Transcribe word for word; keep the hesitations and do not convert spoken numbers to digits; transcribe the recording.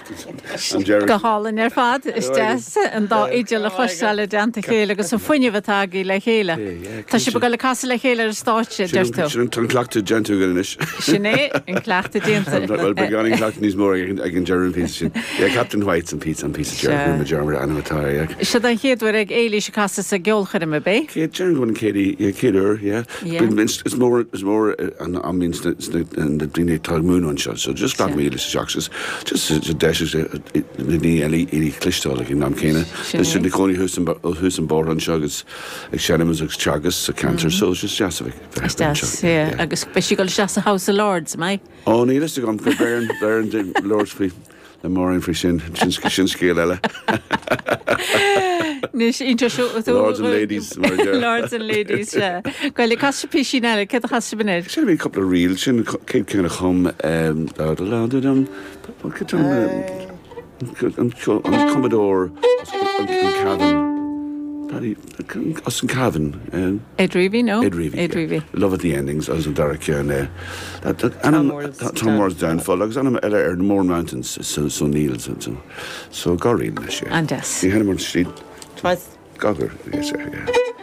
An deireadh. Go hálainn ar fad is deas an dá fhidil a chloisteáil i dteannta a chéile agus an fuinneamh atá agaibh le chéile. Tá sibh ag dul ag casadh le chéile ar an stáitse, deir tú. Sin an cleachtadh déanta againn anois. Sin é an cleachtadh déanta. Well beagáinín cleachtadh níos mó ag an deireadh an píosa sin. Yeah, Captain White's an píosa an píosa deireadh mar mar ainm atá air, yeah. Seo an chéad uair ag Éilís ag casadh sa gceolchoirm ab é? Céad déarfainn go bhfuil an chéad yeah, chéad uair, yeah. Yeah. Is is mór is mór an am na na daoine atá ag múineadh anseo, so just gach míle isteach just just deis na daoine eile í cloisteáil ag an am céanna. Sin é. Na cónaí thuas an thuas an bóthar anseo agus ag seinm agus teagasc sa ceantar, so it's just deas a bheith Is deas, yeah. Agus beidh sí ag dul isteach sa House of Lords, mbeidh? Ó níl fhios agam go beireann beireann Lords faoi le Maureen faoi sin sin sin scéal eile. Anois inse seo Lords and ladies mar a deir. Lords and ladies, sea. Go cas sibh píosín eile, céard a chas sibh anois? Sin bhí cúpla ríl sin céad ceann a chum um, da da da da dum an an cumadóir an Cavan Paddy as an Cavan um, Ed Reavy, no? Ed Reavy. Ed yeah. Reavy. Love at the Endings agus an dara ceann Tom Moore's Tom Moore's Downfall agus ainm eile ar Mourne Mountains so so Neil so so so garín leis An deas. Ní henn street Twice. Gagar yes yeah.